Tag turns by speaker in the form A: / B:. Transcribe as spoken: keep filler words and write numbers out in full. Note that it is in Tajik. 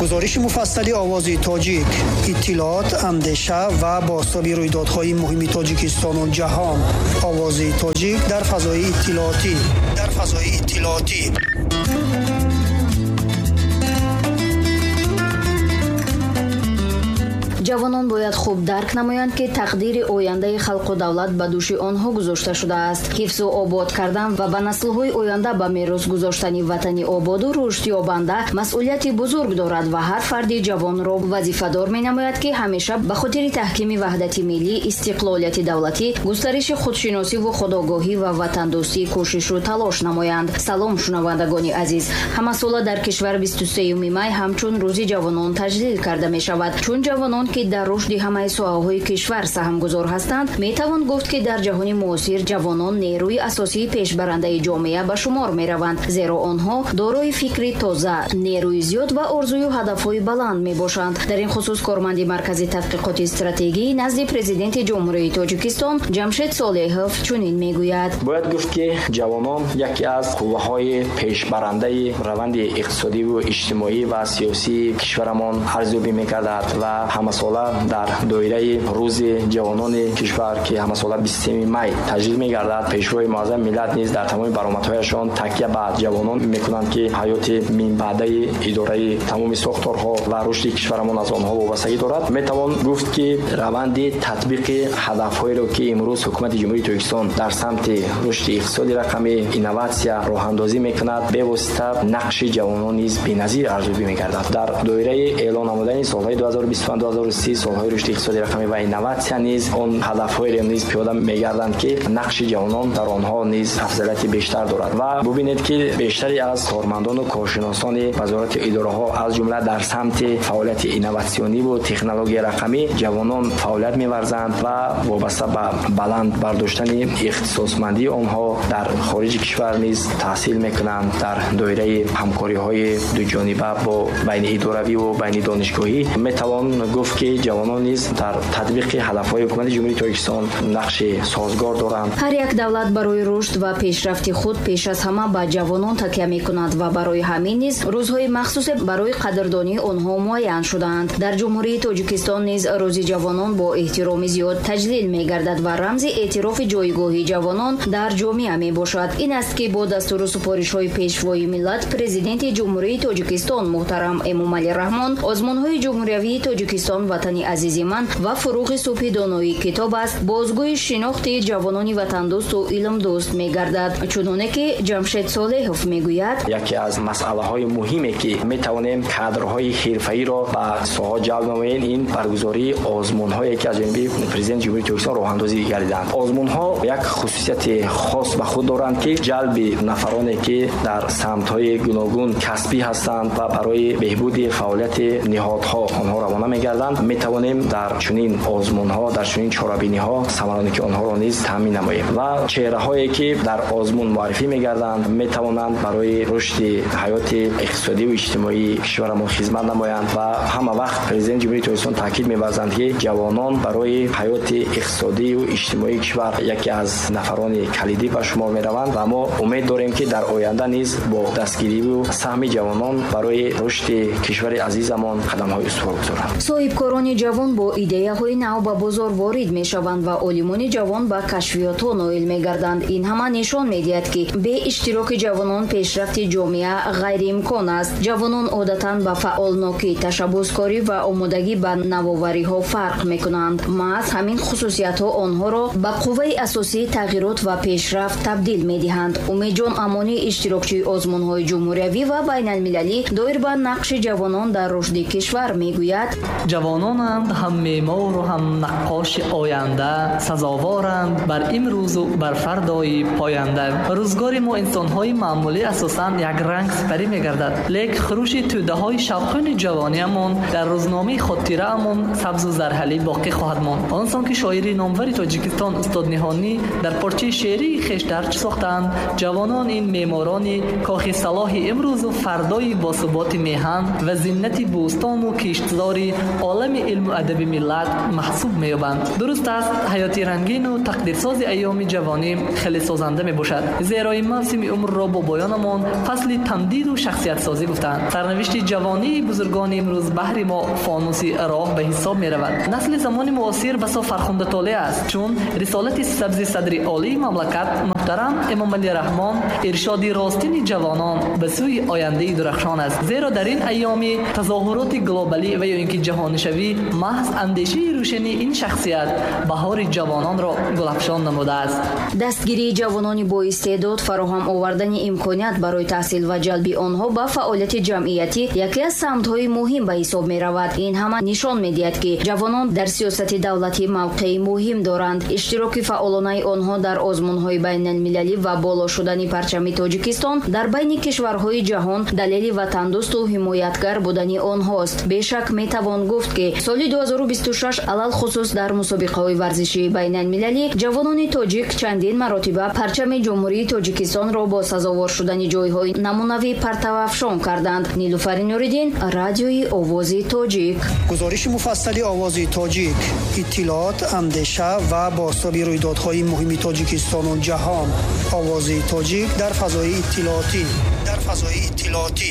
A: Гузориши муфассали Овози Тоҷик, иттилоот, андеша ва бозтоби рӯйдодҳои муҳими Тоҷикистону ҷаҳон. Овози Тоҷик дар фазои иттилоотӣ. Дар фазои иттилоотӣ.
B: Ҷавонон бояд хуб дарк намоянд, ки тақдири ояндаи халқу давлат ба дӯши онҳо гузошта шудааст. Ҳифзу обод кардан ва ба наслҳои оянда ба мерос гузоштани ватани ободу рушдёбанда масъулияти бузург дорад ва ҳар фарди ҷавонро вазифадор менамояд, ки ҳамеша ба хотири таҳкими ваҳдати миллӣ, истиқлолияти давлатӣ, густариши худшиносиву худогоҳӣ ва ватандӯстӣ кӯшишу талош намоянд. Салом, шунавандагони азиз! Ҳамасола дар кишвар бисту сеюми май ҳамчун Рӯзи ҷавонон таҷлил карда мешавад. Чун ҷавонон, ки дар рушди ҳамаи соҳаҳои кишвар саҳмгузор ҳастанд, метавон гуфт, ки дар ҷаҳони муосир ҷавонон нерӯи асосии пешбарандаи ҷомеа ба шумор мераванд, зеро онҳо дорои фикри тоза, нерӯи зиёд ва орзую ҳадафҳои баланд мебошанд. Дар ин хусус корманди Маркази тадқиқоти стратегӣ назди Президенти Ҷумҳурии Тоҷикистон Ҷамшед Солеҳов чунин мегӯяд.
C: Бояд гуфт, ки ҷавонон яке аз қувваҳои пешбарандаи раванди иқтисодиву иҷтимоӣ ва сиёсии кишварамон арзёбӣ мекардад ва ҳамасола дар доираи Рӯзи ҷавонони кишвар, ки ҳамасола бисту сеюми май таҷлил мегардад, Пешвои муаззами миллат низ дар тамоми баромадҳояшон такя ба ҷавонон мекунанд, ки ҳаёти минбаъдаи идораи тамоми сохторҳо ва рушди кишварамон аз онҳо вобастагӣ дорад. Метавон гуфт, ки раванди татбиқи ҳадафҳоеро, ки имрӯз Ҳукумати Ҷумҳурии Тоҷикистон дар самти рушди иқтисоди рақамӣ, инноватсия роҳандозӣ мекунад, бевосита нақши ҷавонон низ беназир арзёбӣ мегардад. Дар доираи эълон намудани солҳои ду ҳазору бисту панҷ ду ҳазору си солҳои рушди иқтисоди рақамӣ ва инноватсия низ он ҳадафҳоеро низ пиёда мегарданд, ки нақши ҷавонон дар онҳо низ афзалияти бештар дорад. Ва бубинед, ки бештари аз кормандону коршиносони вазорати идораҳо, аз ҷумла дар самти фаъолияти инноватсиониву технологияи рақамӣ ҷавонон фаъолият меварзанд ва вобаста ба баланд бардоштани ихтисосмандии онҳо дар хориҷи кишвар низ таҳсил мекунанд. Дар доираи ҳамкориҳои дуҷониба бо байниидоравиву байнидонишгоҳӣ метавон гуфт, ки ҷавонон низ дар татбиқи ҳадафҳои Ҳукумати Ҷумҳурии Тоҷикистон нақши созгор доранд.
B: Ҳар як давлат барои рушд ва пешрафти худ пеш аз ҳама ба ҷавонон такя мекунад ва барои ҳамин низ рӯзҳои махсусе барои қадрдонии онҳо муайян шудаанд. Дар Ҷумҳурии Тоҷикистон низ Рӯзи ҷавонон бо эҳтироми зиёд таҷлил мегардад ва рамзи эътирофи ҷойгоҳи ҷавонон дар ҷомеа мебошад. Ин аст, ки бо дастуру супоришҳои Пешвои миллат, Президенти Ҷумҳурии Тоҷикистон муҳтарам Эмомалӣ Раҳмон, озмунҳои ҷумҳуриявии Тоҷикистон «Ватани азизи ман» ва «Фуруғи субҳи доноии китоб аст» бозгӯи шинохти ҷавонони ватандӯсту илмдӯст мегардад. Чуноне ки Ҷамшед Солеҳов мегӯяд:
C: яке аз масъалаҳои муҳиме, ки метавонем кадрҳои ҳирфаиро ба соҳа ҷалб намоем, ин баргузории озмунҳое, ки аз ҷониби Президенти Ҷумҳурии Тоҷикистон роҳандозӣ гардиданд. Озмунҳо як хусусияти хос ба худ доранд, ки ҷалби нафароне, ки дар самтҳои гуногун касбӣ ҳастанд ва барои беҳбуди фаъолияти ниҳодҳо онҳо равона мегарданд, метавонем дар чунин озмунҳо, дар чунин чорабиниҳо самароники онҳоро низ таъмин намоем ва чеҳраҳое, ки дар озмун муаррифӣ мегарданд, метавонанд барои рушди ҳаёти иқтисодиву иҷтимоии кишварамон хизмат намоянд. Ва ҳама вақт Президенти Ҷумҳурии Тоҷикистон таъкид меварзанд, ки ҷавонон барои ҳаёти иқтисодиву иҷтимоии кишвар яке аз нафарони калидӣ ба шумор мераванд ва мо умед дорем, ки дар оянда низ бо дастгириву саҳми ҷавонон барои рушди кишвари азизамон қадамҳои устувор гузоранд.
B: Соҳибкорони ҷавон бо идеяҳои нав ба бозор ворид мешаванд ва олимони ҷавон ба кашфиётҳо ноил мегарданд. Ин ҳама нишон медиҳад, ки бе иштироки ҷавонон пешрафти ҷомеа ғайриимкон аст. Ҷавонон одатан ба фаъолнокӣ, ташаббускорӣ ва омодагӣ ба навовариҳо фарқ мекунанд. Маҳз ҳамин хусусиятҳо онҳоро ба қувваи асосии тағйирот ва пешрафт табдил медиҳанд. Умедҷон Амонӣ, иштирокчии озмунҳои ҷумҳуриявӣ ва байналмилалӣ, доир ба нақши ҷавонон дар рушди кишвар мегӯяд:
D: ҷавононанд ҳам меъмору ҳам наққоши оянда, сазоворанд бар имрӯзу бар фардои поянда. Рӯзгори мо инсонҳои маъмулӣ асосан якранг сипарӣ мегардад, лек хурӯши тӯдаҳои шавқони ҷавониамон дар рӯзномаи хотираамон сабзу зарҳалӣ боқӣ хоҳад монд. Он сон ки шоири номвари Тоҷикистон устод Ниҳонӣ дар порчаи шеърии хеш дарҷ сохтаанд, ҷавонон ин меъморони кохи салоҳи имрӯзу фардои босуботи меҳан ва зиннати бӯстону киштзори олами илму адаби миллат маҳсуб меёбанд. Дуруст аст, ҳаёти рангину тақдирсози айёми ҷавонӣ хеле созанда мебошад, зеро ин мавсими умрро бобоёнамон фасли тамдиду шахсиятсозӣ гуфтанд. Сарнавишти ҷавонии бузургони имрӯз баҳри мо фонуси роҳ ба ҳисоб меравад. Насли замони муосир басо фархундатолеъ аст, чун рисолати сабзи садри олии мамлакат муҳтарам Эмомалӣ Раҳмон иршоди ростини ҷавонон ба сӯи ояндаи дурахшон аст. Зеро дар ин айёми тазоҳуроти глобалӣ ва ё ин ки ҷаҳонишавӣ маҳз андешаи рӯшани ин шахсият баҳори ҷавононро гулафшон намудааст.
B: Дастгирии ҷавонони боистеъдод, фароҳам овардани имконият барои таҳсил ва ҷалби онҳо ба фаъолияти ҷамъиятӣ яке аз самтҳои муҳим ба ҳисоб меравад. Ин ҳама нишон медиҳад, ки ҷавонон дар сиёсати давлатӣ мавқеи муҳим доранд. Иштироки фаъолонаи онҳо дар озмунҳои байналмилалӣ ва боло шудани парчами Тоҷикистон дар байни кишварҳои ҷаҳон далели ватандӯсту ҳимоятгар будани онҳост. Бешак метавон гуфт, ки соли ду ҳазору бисту шаш алалхусус дар мусобиқаҳои варзишии байналмилалӣ ҷавонони тоҷик чандин маротиба парчами Ҷумҳурии Тоҷикистонро бо сазовор шудани ҷойҳои намунавӣ партавафшон карданд. Нилуфари Нуриддин, радиои Овози Тоҷик.
A: Гузориши муфассали Овози Тоҷик, иттилоот, андеша ва бозтоби рӯйдодҳои муҳими Тоҷикистону ҷаҳон. Овози Тоҷик дар фазои иттилоотӣ. Дар фазои иттилоотӣ.